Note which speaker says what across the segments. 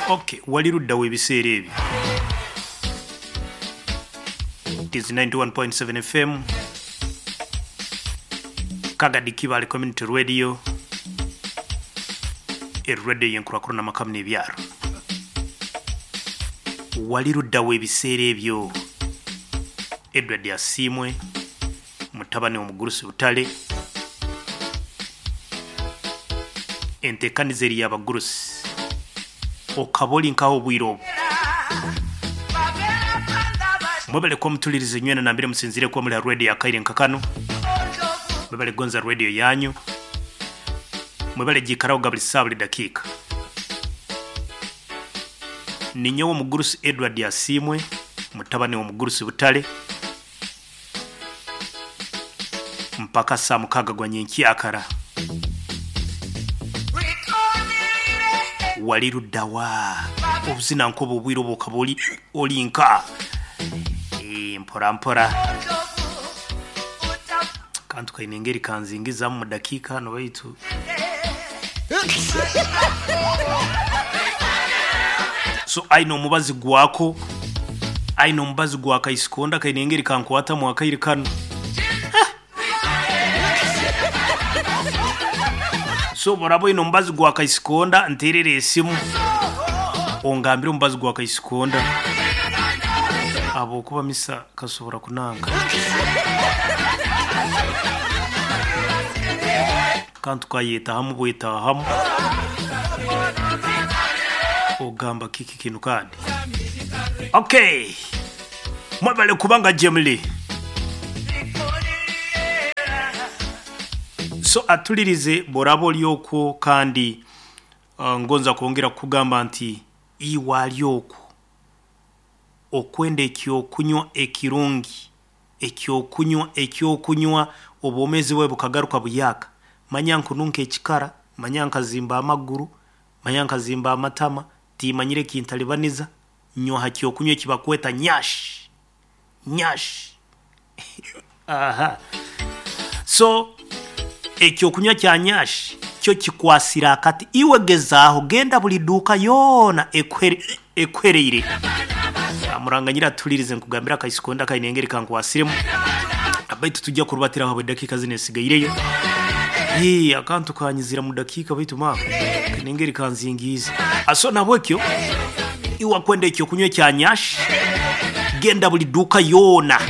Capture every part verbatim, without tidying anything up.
Speaker 1: Okay, wali luddawo ebiseera ebyo? It is ninety-one point seven F M, Kagadi Kibaale Community Radio, eradio y'enkurakurana n'amakamu n'ebyaro. Wali luddawo ebiseera ebyo? Edward Asiimwe, mutabani w'omugurusi Butale, enteekaniza eri y'abagurusi, okaba oli nkaho obwire obwo. Mwebale kuba mutulirize nywena nambere musinzire kuba muri ha radio ya Kaire nkakano. Mwebale gonza radio yanyu. Mwebale jikaraho buli saa buli dakiika. Ninyowe omugurusi Edward Asiimwe, mutabani w'omugurusi Butale, mpaka saa mukaaga gwa nyenkyakara. Wali luddawa? Obuzina nkoba obwire obwo okaba oli, oli nka. E, mpora mpora. Kantu kaine engeri kanzingizamu mu dakiika hano baitu. So aina omubazi gwako, aina omubazi gwa kaisikonda kaine engeri kankwatamu akaire kano. So borabo ino omubazi gwa kaisikonda nterere esimu ongambire omubazi gwa kaisikonda abo kuba misa kasobora kunanga. Kantu kayeta hamu bweta hamu ogamba kiki kinu kandi. Okay, mwebale kubanga jemli. So atulirize borabo lyoko kandi uh, ngonza kwongera kugamba nti iwa lyoko okwenda ekyokunywa ekirungi, ekyokunywa ekyokunywa obwomezi bwe bukagaruka buyaka. Manya nkununka ekikara, manya nkazimba amaguru, manya nkazimba amatama, timanyire kintalibaniza, nywa hakyokunywa ekibakweta nyash. Nyash. Aha. So ekyokunywa kya nyash kyo kikwasira akati. Iwe gezaaho genda buli duka yona ekwere ekwereire. Amuranganyira tulirize nkugambira kaisikonda kainengeri kankwasiremu. Abaitu tujja kurubatira aho dakika zine sigaireyo. Hii akantu kanyizira mu dakika baitu ma kainengeri kanzingiza. Aso nabwekyo iwa kwenda ekyokunywa kya nyash genda buli duka yona.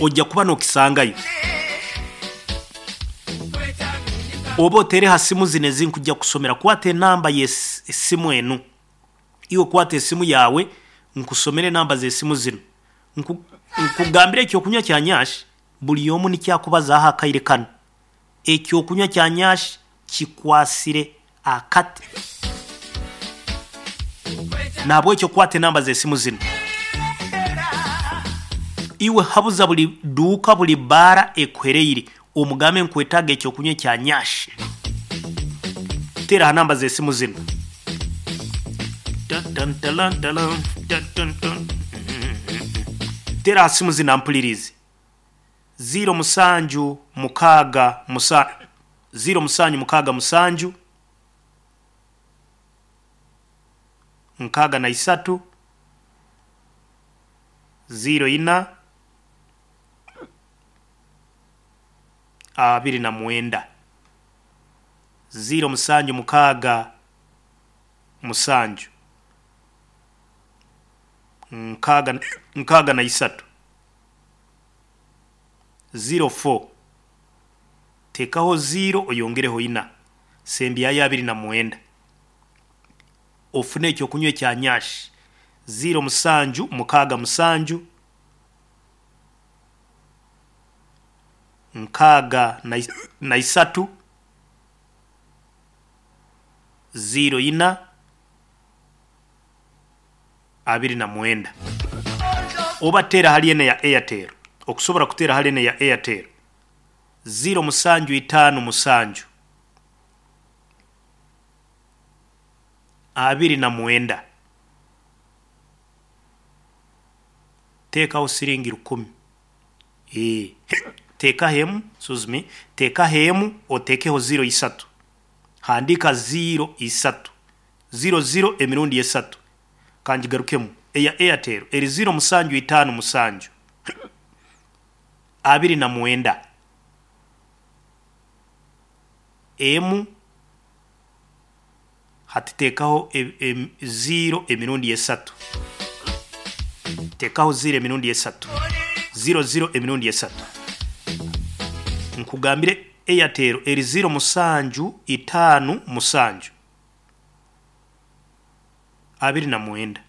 Speaker 1: Ojja kuba nokisangayo. Oba otere ha simu zine zinkujja kusomera, kwata enamba y'essimu enu. Iwe kwata esimu yawe nkusomere namba z'esimu zino. Nkugambire ekyokunywa kya nyash buli omu nikyakubaza aha akaire kano. Ekyokunywa kya nyash kikwasire akati. Nabwekyo kwata enamba z'esimu zino. Iwe habuza buli duka buli bara ekwereire omugambe nkwetaga ekyokunywa kya nyash. Tera namba z'esimu zino. Tera simu zino ampulirize. Zero musanju mukaga musa zero musanju mukaga musanju nkaga na isatu zero ina abiri na mwenda. Zero musanju mukaga musanju nkaga, nkaga na isatu zero four. Tekaho zero oyongereho ina sembi ya abiri na mwenda. Ofune ekyokunywa kya nyash. Zero musanju mukaga musanju nkaga na, na isatu zero ina abiri na mwenda. Oba tera hali ene ya Airtel. Okusobora kutera hali ene ya Airtel. Zero musanju itano musanju abiri na mwenda. Tekaho siringi rukumi. Eh, teka hemu, excuse me, teka hemu otekeho zero isatu. Handika ziro isatu ziro ziro emirundi esatu. Kanjigarukemu eya Airtel eri ziro musanju itaano musanju abiri na mwenda emu, hatiteekaho e, e, ziro emirundi esatu, teekaho ziro emirundi esatu, ziro ziro emirundi esatu. Nkugambire Airtel eri ziro musanju itaano musanju abiri na mwenda,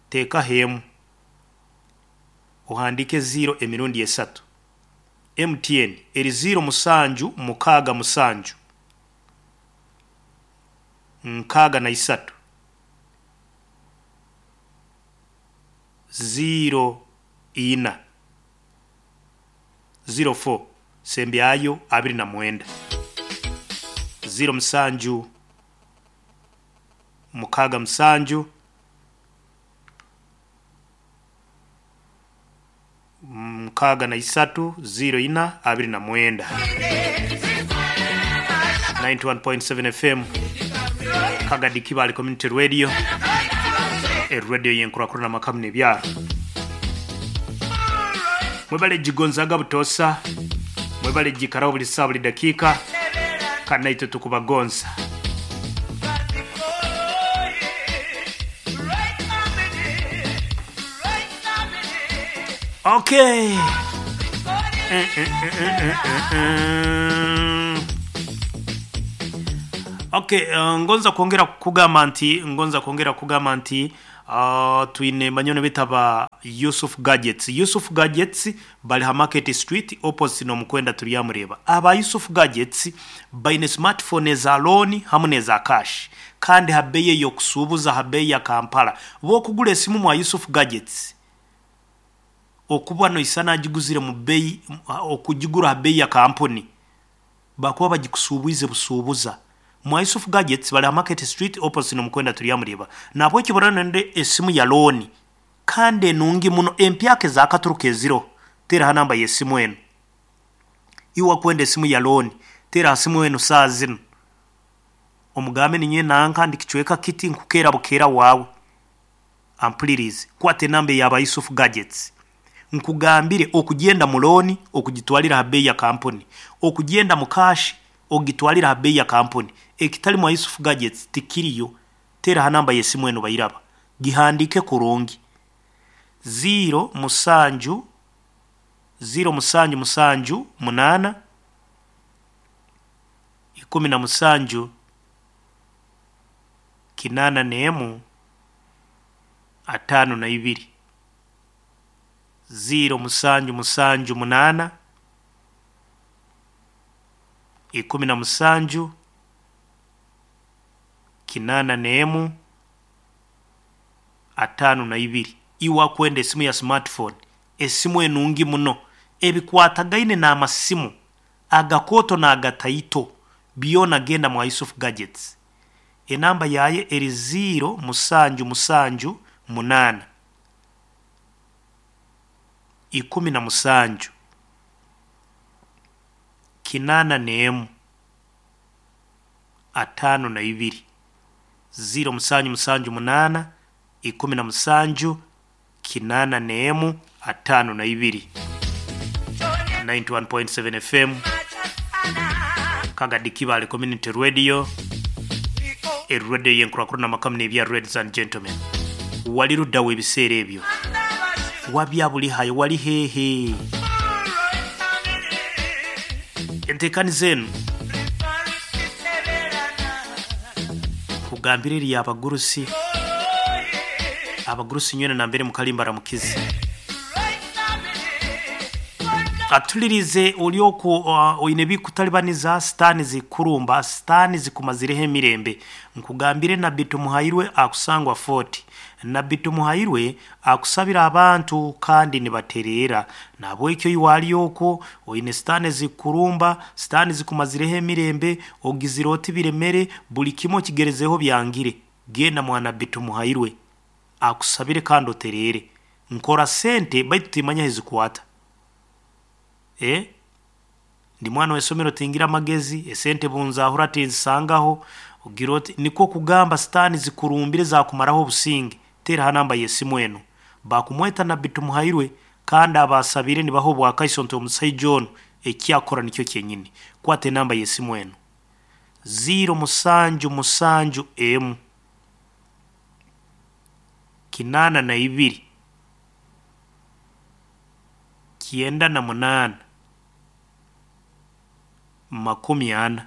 Speaker 1: teekaho emu ohandike ziro emirundi esatu. M T N eri ziro musanju mukaaga musanju nkaaga na isatu ziro ina ziro four sembyayo abiri na mwenda ziro musanju mukaaga musanju mukaaga na isatu ziro ina abiri na mwenda. Ninety-one point seven F M Kagadi Kibale Community Radio, e radio yenkurakurana makamu n'ebyaro. Mwebale jigonzaga butosa, mwebale jikaraho buli saa buli dakiika, kandi naitwe tukubagonza. Okay. Eh, eh, eh, eh, eh, eh. Okay, uh, ngonza kwongera kugamba nti ngonza kwongera kugamba nti uh, twine manyono bitaba Yusuf Gadgets. Yusuf Gadgets bali ha Market Street opposite no mukwenda tuliyamureba. Aba Yusuf Gadgets baine smartphone za loan hamwe neza cash kandi habeye yo kusubuza habeye ya Kampala. Bo kugula esimu mwa Yusuf Gadgets okuba no isana ajiguzire mu bei okujigura habeye ya kampuni bakuba bagikusubuize busubuza. Mwa Yusuf Gadgets bali ha Market Street opposite no mukwenda tuliyamureba. Nabwo kiborana nende esimu ya loan kandi nungi muno empyake zakaturuka eziro. Tera namba yesimu eno iwa kwenda esimu ya loan, tera simu eno saa zino omugambe ninye nanka ndikichweka kiti nkukera bukera wawe ampulirize kwate namba ya Yusuf Gadgets nkugambire okugenda mu loan okugitwalira ha bei ya kampuni, okugenda mu cash ogitwalira ha bei ya kampuni. Ekitali mwa Yusuf Gadgets tikiriyo. Tera namba yesimu eno bayiraba gihandike kurungi zero musanju zero musanju musanju munana ikumi na musanju kinana nemu atano na ibiri zero musanju musanju munana ikumi na musanju kinana nemu atano na ibiri. Iwa kwenda esimu ya smartphone, esimu enungi muno ebikwatagaine na amasimu agakoto na agataito byona genda mwa Yusuf Gadgets. Enamba yaye eri zero musanju musanju munana ikumi na musanju kinana nemu atano na ibiri zero musanju musanju munana ikumi na musanju kinana nemu atano na ibiri. Ninety-one point seven F M Kagadi Kibale Community Radio, e radio yenkurakurana makamu n'ebya ladies and gentlemen. Wali luddawo ebiseera ebyo wabya buli hayo wali hehe enteekaniza eno kugambira eri abagurusi abagurusi nywena nambere mukalimba ramukizi atulirize olyoku uh, oine bikutalibaniza sitani zikurumba sitani zikumazireho emirembe. Nkugambire Nabbi Tumuhairwe akusangwa forty. Nabbi Tumuhairwe akusabira abantu kandi nibaterera. Nabwekyo iwali okwo oine sitani zikurumba sitani zikumazireho emirembe ogiziroti biremere buli kimo kigerezeho byangire. Genda mwa Nabbi Tumuhairwe akusabire kandi oterere. Nkora sente baitu timanya hezikwata. Eh? Ndi mwana w'essomero tingira amagezi, esente bunzahura tinzisangaho, ogira oti nikwo kugamba sitaani zikurumbire zakumaraho obusinge. Teera ha namba y'esimu enu. Bakumweta Nabbi Tumuhairwe kandi abasabire nibaha obwakaiso nti omusaija onu ekyakora nikyo kyenyini. Kwata enamba y'esimu enu. Ziro musanju musanju emu kinaana na ibiri kyenda na munaana makumi ana.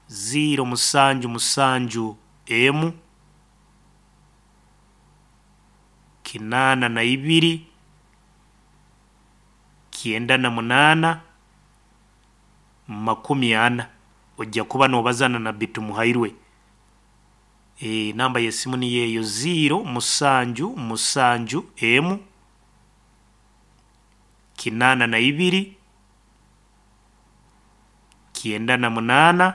Speaker 1: Ziro musanju musanju emu kinaana na ibiri kyenda na munaana makumi ana. Ojja kuba noobaza na Nabbi Tumuhairwe. E, namba y'esimu niyo eyo ziro musanju musanju emu kinaana na ibiri kyenda na munaana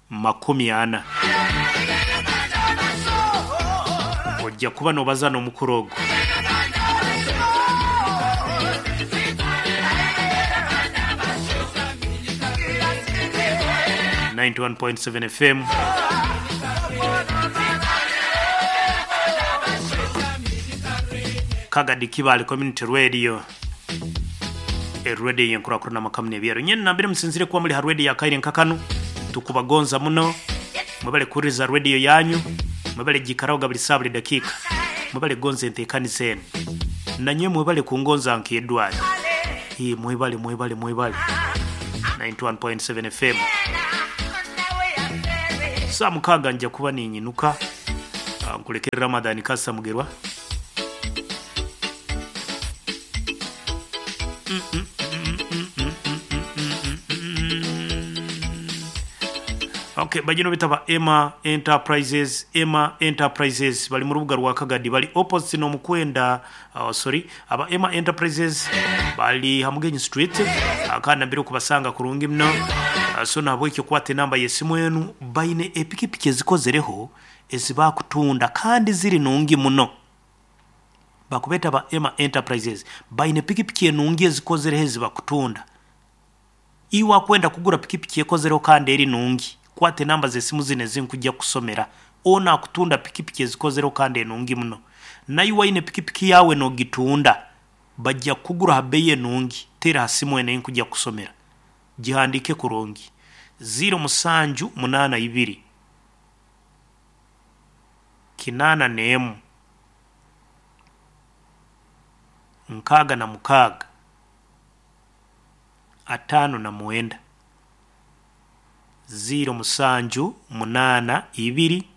Speaker 1: makumi ana. Ojja kuba noobaza n'omukuru ogu. ninety-one point seven F M. Kagadi Kibale Community Radio. E radio yenkurakurana makamu n'ebyero. Nyene nambere musinzire kuba muri ha radio ya Kaire nkakanu tukubagonza muno. Mwebale kuriza radio yanyu, mwebale gikaraho buli saa buli dakika. Mwebale gonza entekani zenu. Nanye mwebale kungonza nkedwayo. Hii mwebale mwebale mwebale. ninety-one point seven F M. Saa mukaaga nja kuba ninyinuka nkulekere Ramadhani Kasa Mugerwa. Mm -mm -mm -mm -mm -mm -mm. Okay, bajino bitaba Emma Enterprises, Emma Enterprises bali mu rubuga rwa Kagadi, bali opposite no mukwenda, uh, sorry, aba Emma Enterprises bali Hamugenyi Street, akana mbere kubasanga kurungi mno. Uh, so nabwo ekyo kwate namba y'esimu enu baine epikipiki ezikozereho ezibakutunda kandi ziri nungi muno. Bakubeta ba Emma Enterprises baine pikipiki enungi ezikozereho ezibakutunda. Iwa kwenda kugura pikipiki ekozereho kandi eri nungi, kwate namba z'esimu zine zinkujja kusomera. Ona akutunda pikipiki ezikozereho kandi enungi muno. Nayo waine pikipiki yawe nogitunda bajja kugura ha bei enungi. Tera ha simu ene nkujja kusomera, gihandike kurungi. Ziro musanju munana ibiri kinana n'emu nkaaga na mukaaga ataano na mwenda. Ziro musanju munana ibiri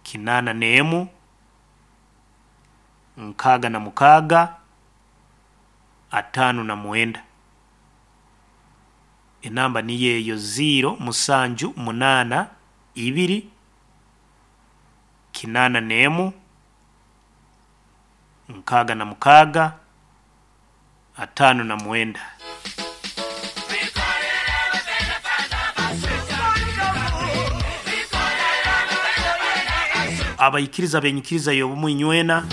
Speaker 1: kinana n'emu nkaaga na mukaaga ataano na mwenda. Enamba niyo eyo ziro musanju munana ibiri kinana n'emu nkaaga na mukaaga ataano na mwenda. Abayikiriza benyikiriza y'obumu inywena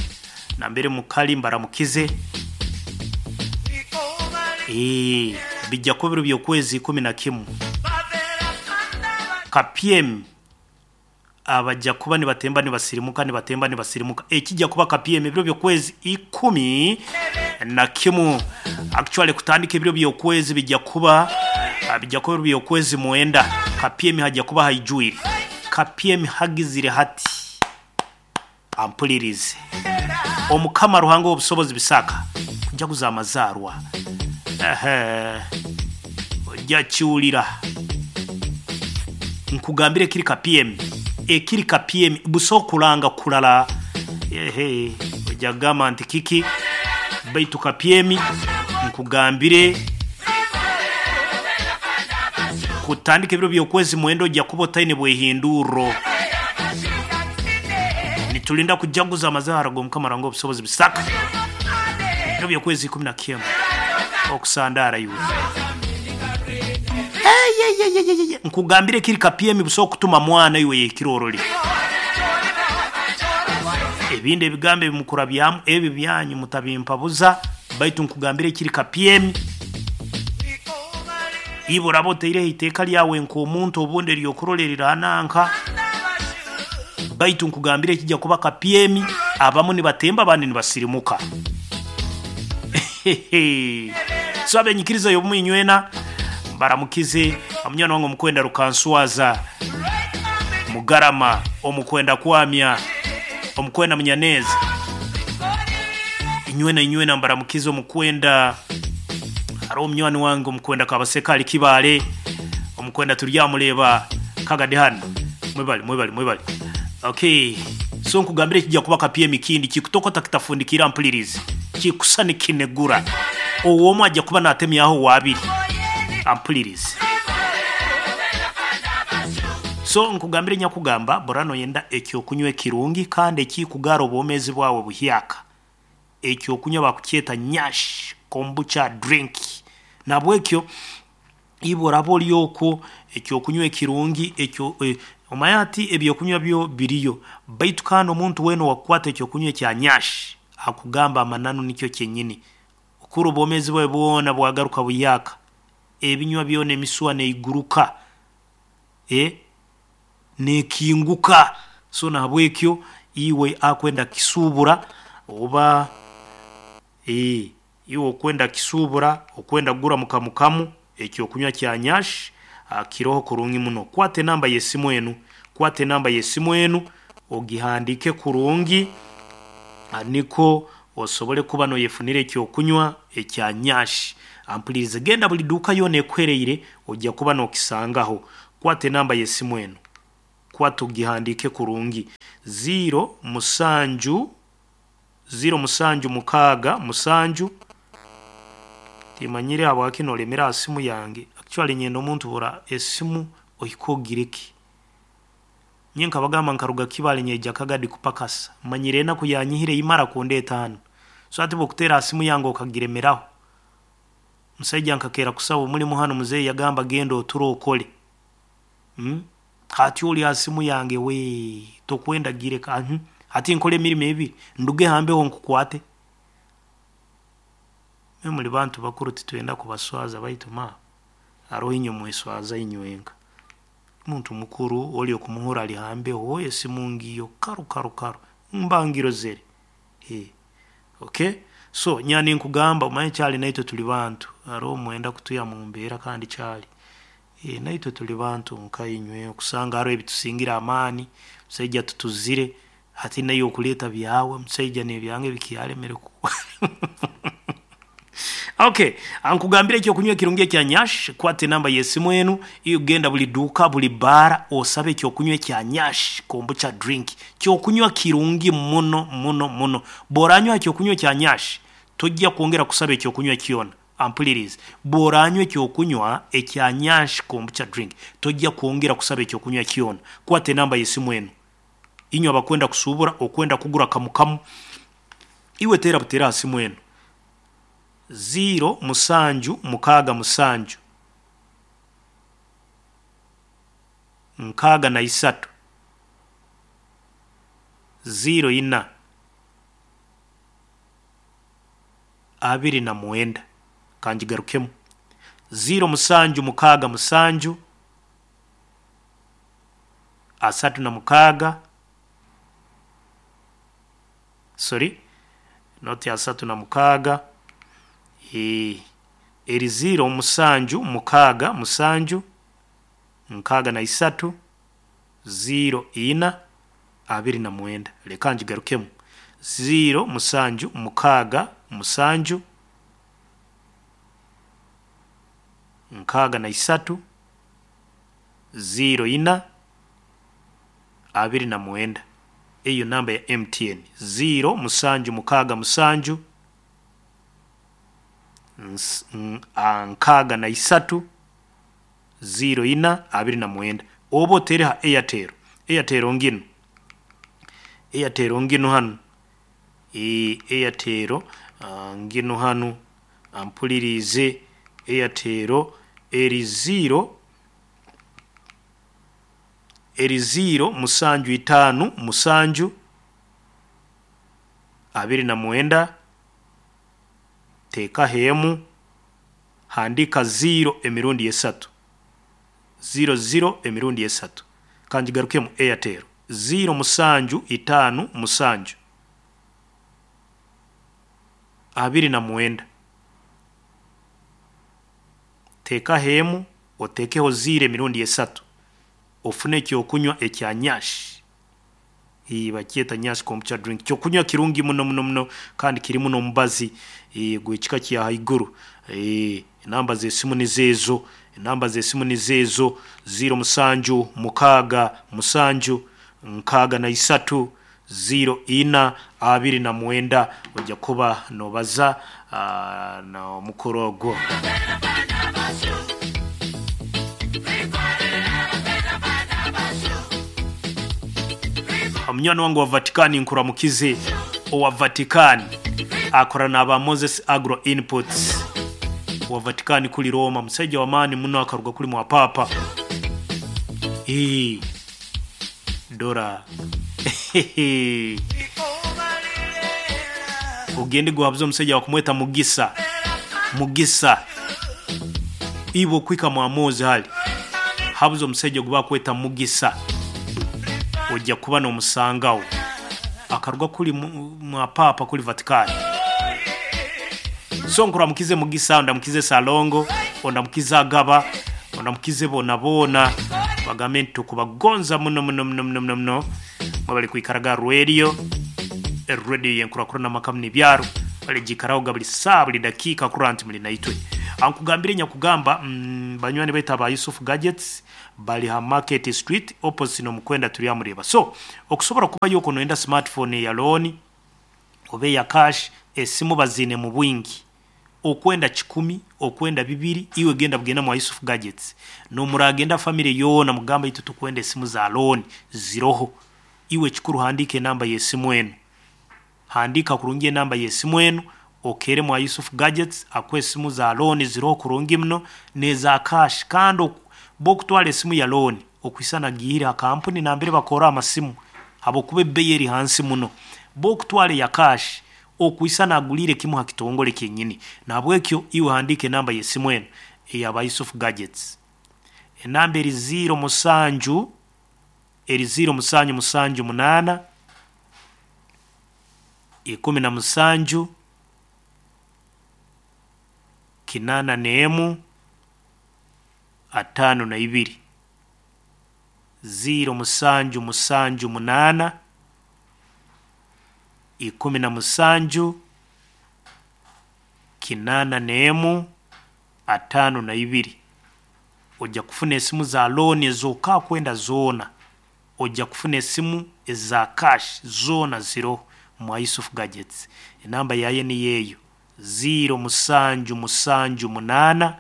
Speaker 1: nambere mukali mbaramukize. Eh, bijja kuba biro by'okwezi ikumi na kimu. K P M abajja kuba nibatemba nibasirimuka nibatemba nibasirimuka. Ekijja kuba K P M ebiro by'okwezi ikumi na kimu. Actually kutandika ebiro by'okwezi bijja kuba bijja kuba ebiro by'okwezi mwenda. K P M hajja kuba haijuire. K P M hagizire hati ampulirize. Omukama Ruhanga w'obusobozi bisaka kujaguza amazaarwa. Ehe, ojja kiwulira. Nkugambire ekiri K P M, ekiri K P M buso kulanga kulala. Ehe, ojja gamba nti kiki baitu K P M nkugambire kutandika ebiro by'okwezi mwenda ojja kuba otaine bwehinduro. Nitulinda kujaguza amazaara g'omukama Ruhanga w'obusobozi bisaka ebiro by'okwezi ikumi na kimu okusandara iwe. Nkugambire kiri K P M buso okutuma mwana iwe yekiroroli. Ebindi ebigambo ebimukurabyamu ebi byanyu mutabimpabuza, baitu nkugambire ekiri kapyemi. Iwe oraba otaireho iteeka lyawe nk'omuntu obundi eryokurora erirananka, baitu nkugambire ekijja kuba kapyemi. Abamu nibatemba, abandi nibasirimuka. So abenyikiriza y'obumu inywena baramukize omunywani wange omukwenda Rukanswaza Mugarama, omukwenda Kwamya, omukwenda Munyaneza, inywena inywena mbaramukize. Omukwenda hariho omunywani wange omukwenda Kabaseka ali Kibaale, omukwenda turyamureba Kagadi hano. Mwebale mwebale mwebale. Okay, so nkugambire kijja kuba kapyemi kindi kikutokota kitafundikira mpulirizi kikusa nikinegura ow'omu ajja kuba natemyaho wabiri ampulirizi. So nkugambire nyakugamba borano yenda ekyokunywa ekirungi kandi ekikugara obwomezi bwawe buhyaka. Ekyokunywa bakukyeta Nyash kombucha drink. Nabwekyo iwe oraba ori okwo ekyokunywa ekirungi ekyo eh, omanya ati ebyokunywa byo biriyo, baitu kandi omuntu weena owakukwata ekyokunywa ekya Nyash akugamba amananu nikyo kyenyini. Okura obwomezi bwawe bwona bwagaruka buyaka, ebinywa byona emisuwa neiguruka, eh, nekinguka. So nahabwekyo iwe akwenda kisubura oba eh, iwe okwenda kisubura okwenda kugura mukamukamu ekyokunywa kya Nyash kiroho kurungi muno. Kwata enamba y'esimu enu, kwata enamba y'esimu enu ogihandike kurungi niko osobole kuba noyefunira ekyokunywa ekya Nyash. Ampulirize, genda buli duuka yoona ekuhereire ojja kuba nokisangaho. Kwata enamba y'esimu enu, kwata ogihandike kurungi: ziro musanju ziro musanju mukaaga musanju. Timanyire habwaki nolemera ha simu yange. Actually nyenda omuntu bura esimu ohike ogireke. Nye nkabagamba nkaruga Kibaale nyaija Kagadi kupakasa, manyire enaku yanyihire imara kundeeta hanu. So ati bwokutera ha simu yange okagiremeraho. Musaija nkakera kusaba omulimu hanu, muzeeyi yagamba genda oture okole. Hmm? Hati oli ha simu yange we tokwenda gireka. Hmm? Hati nkole emirimo ebiri nduge hambeho nkukwate. Mwe muli bantu bakuru titwenda kubaswaza, baitu ma haroho inywe mweswaza inywenka. Muntu mukuru oli okumuhura ali hambeho esimu ngiyo karu karu karu mbangirozere. Hey. Okay, so nyani nkugamba omanye kyali naitwe tuli bantu, haroho mwenda kutuya mu mbeera kandi kyali e, naitwe tuli bantu nka inywe, okusanga haroho ebitusingira amaani. Musaija tutuzire hati naye okuleeta byawe musaija n'ebyange bikyalemere ku Okay, ankugambire ekyokunywa ekirungi ekya Nyash. Kwata enamba y'esimu enu, iyo genda buli duuka buli baara osabe ekyokunywa ekya Nyash kombucha drink. Kyokunywa kirungi muno muno muno. Bw'oranywa ekyokunywa ekya Nyash tojja kwongera kusaba ekyokunywa kyona. Ampulirize, bw'oranywa ekyokunywa ekya Nyash kombucha drink tojja kwongera kusaba ekyokunywa kyona. Kwata enamba y'esimu enu, inywe abakwenda kusubura okwenda kugura kamukamu, iwe teera buteera ha simu enu: ziro musanju mukaaga musanju nkaaga na isatu ziro ina abiri na mwenda. Kangigarukemu: ziro musanju mukaaga musanju asatu na mukaaga, sorry, not asatu na mukaaga, e, eri ziro musanju mukaaga musanju nkaaga na isatu ziro ina abiri na mwenda. Leka ngigarukemu: ziro musanju mukaaga musanju nkaaga na isatu ziro ina abiri na mwenda. Eyo namba ya M T N: ziro musanju mukaaga musanju nkaaga na isatu ziro ina abiri na mwenda. Oba otere ha Airtel, Airtel nginu, Airtel nginu hanu, e, Airtel uh, nginu hanu, ampulirize. Airtel eri ziro eri ziro musanju itaano musanju abiri na mwenda, teekaho emu, handiika ziro emirundi esatu, ziro ziro emirundi esatu. Kangigarukemu Airtel ziro musanju itaano musanju abiri na mwenda, teekaho emu, oteekeho ziro emirundi esatu, ofune ekyokunywa ekya Nyash. Ii, bakyeta Nyash kombucha drink, kyokunywa kirungi muno muno muno kandi kirimu n'omubazi ii, gw'ekika kya haiguru. Ii, enamba z'esimu nizeezo, enamba z'esimu nizeezo ziro musanju mukaaga musanju nkaaga na isatu ziro ina abiri na mwenda. Ojja kuba nobaza uh, n'omukuru ogwo. Omunywani wange wa Vatikani nkuramukize, owa Vatikani akora n'aba Moses Agro Inputs wa Vatikani kuli Roma, musaija w'amaani muno akaruga kuli mwa papa. Ii, dora ogende guhabuza omusajja wakumweta Mugisa, Mugisa ibo kwika mwamozi hali habuza omusajja gwe bakweta Mugisa, ojja kuba n'omusangawo akaruga kuli mwa papa kuli Vatikani. So nkuramukize Mugisa, ondamukize Salongo, ondamukize Agaba, ondamukize bona bona, bagambe nti tukubagonza muno muno muno muno muno muno. Mwabali kwikaraga radio radio yenkurakurana makamu n'ibyaro baligikaraho buli saa buli dakiika kurora nti muli naitwe. Ankugambire nyakugamba mm, banywani baitu aba Yusuf Gadgets bali ha Market Street opposite n'omukwenda turyamureba. So okusobola kuba yuko noenda smartphone ya loan oba eya cash, esimu bazine mu bwingi, okwenda kikumi okwenda bibiri, iwe genda bugenda mu Yusuf Gadgets nomuragenda family yoona mugamba itu tukwenda esimu za loan ziroho. Iwe kikuru handika enamba y'esimu enu, handika kurungi enamba y'esimu enu, okere mwa Yusuf Gadgets akwe esimu za loan ziroho kurungi muno neza cash. Kandi bokutwala esimu ya loan okwisana gihira akampuni nambere bakora amasimu habokuba ebbeeyi eri hansi muno. Bokutwala ya cash okwisana agulire kimu ha kitongole kyenyini. Nabwekyo iwe handike enamba y'esimu enu eyaba Yusuf Gadgets, enamba eri ziro musanju eri ziro musanju musanju munaana ikumi na musanju kinana n'emu ataano na ibiri, ziro musanju musanju munaana ikumi na musanju kinana n'emu ataano na ibiri. Ojja kufuna esimu za loan ez'oka kwenda zoona, ojja kufuna esimu eza cash zoona ziroho mwa Yusuf Gadgets. Enamba yaye ni yeeyo ziro musanju musanju munaana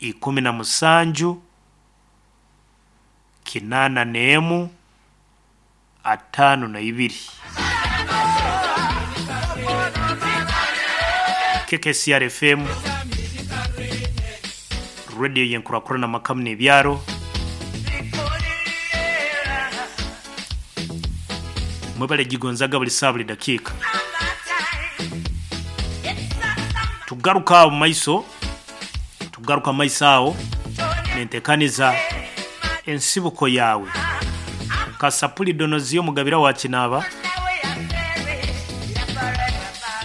Speaker 1: ikumi na musanju kinana n'emu ataano na ibiri. K K C R F M radio yenkurakurana makamu n'ebyaro. Mwebale gigonzaga buli saa buli dakiika. Tugaruka awo mu maiso, tugaruka mu maiso awo nentekaniza ensibuko yaawe. Kasapuli Donoziyo Mugabira wa Kinaba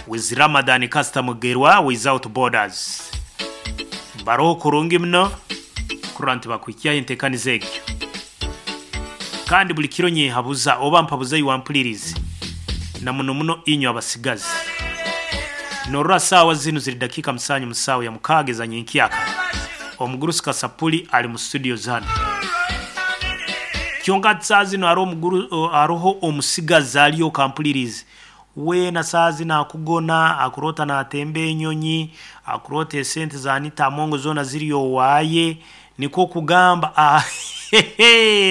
Speaker 1: with Ramadan Kasita Mugerwa without borders. Baroho kurungi muno kurora nti bakwikyayo entekaniza egyo. Kandi buli kiro nyehabuza oba mpabuza iwampulirize na muno muno inywe abasigazi. Norora saawa zinu ziri dakika musanju musaawa ya mukaaga ezanyenkyaka. Omugurusi Kasapuli ali mu studio zano. Kyonka saa zino hariho omuguru, hariho omusigazi aliyo kampulirize. Weena saa zino akugona, akuroota naatemba enyonyi, akuroota esente za Anita Amongo zoona ziri owaaye, nikwo kugamba ah,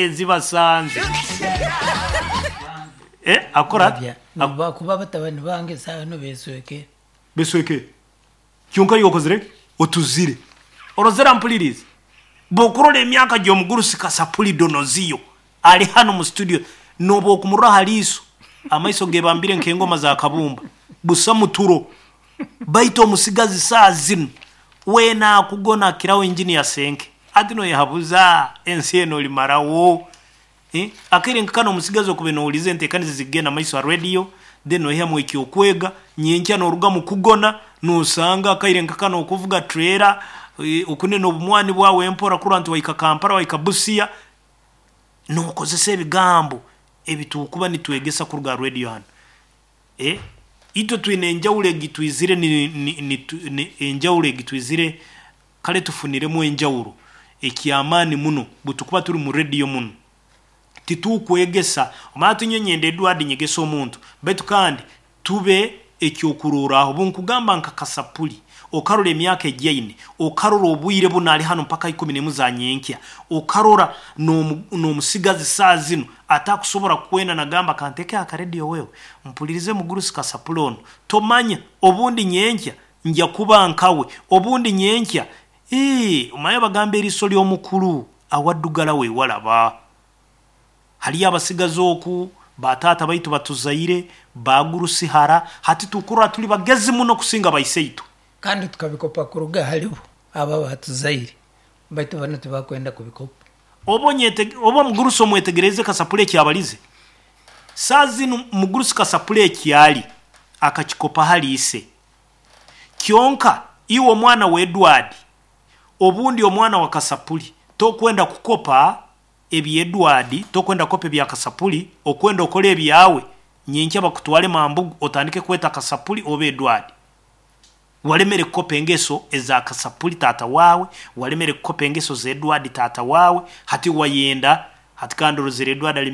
Speaker 1: zibasanze. Eh, akora
Speaker 2: Ak kuba batabani bange saa no besweke.
Speaker 1: Besweke. Kyonka yokozire otuzire. Orozera mpulirize. Bokurora emyaka gy'omugurusi Kasapuli Donoziyo ali hano mu studio noba okumurora haliiso. Amaiso gebambire nk'engoma za kabumba, busa muturo. Baitu omusigazi saa zinu weena akugona akiraho injini ya senke, ati noyehabuza ensi eno olimarawo. Eh? Akaire nkakano omusigazi okube nowuliza enteekaniza zigenda maiso ha radio, then noihamu ekyokwega. Nyenkya noruga mu kugona nosanga akaire nkakano okuvuga trailer, eh, okunena obumwani bwawe empora kurora nti waika Kampala, waika Busia, nokozesa ebigambo ebitukuba nitwegesa kuruga radio hano. Eh? Itwe twine enjawulo egitwizire ni, ni, ni, ni, enjawulo egitwizire kale tufuniremu enjawulo ekyamaani muno. Bwetukuba turi mu radio muno titukwegesa omanya tunyenyenda Edward nyegesa omuntu, baitu kandi tube ekyokurorraho. Bunkugamba nka Kasapuli, okarora emyaka egyaine, okarora obwire buno ali hano mpaka ikumi nemu za nyenkya, okarora n'omusigazi saa zinu atakusobora kwenda nagamba kanteke akaredio wewe mpulirize mugurusi Kasapuli ono. Tomanya obundi nyenkya nja kuba nkawe, obundi nyenkya omanye bagamba eriiso ly'omukulu awaddugala wewalaba. Haliyo abasigazi oku bataata baitu batuzaire bagurusihara, hati tukurora tuli bagezi muno kusinga baiseitu.
Speaker 2: Kandi tukabikopa kuruga halibo aba batuzaire, baitu bano tibakwenda kubikopa.
Speaker 1: Oba oba mugurusi omwetegereze Kasapuli ekyabalize saa zinu. Mugurusi Kasapuli ekyali akakikopa hali ise kyonka. Iwe omwana wa Edward obundi omwana wa Kasapuli tokwenda kukopa ebya Edward, tokwenda kukopa ebya Kasapuli, okwenda okora ebyawe. Nyenkya bakutwale mambugu otandike kweta Kasapuli oba Edward. Walemere kukopa engeso eza Kasapuli tata wawe, walemere kukopa engeso za Edward tata wawe. Hati wayenda hati kandi orozere Edward ali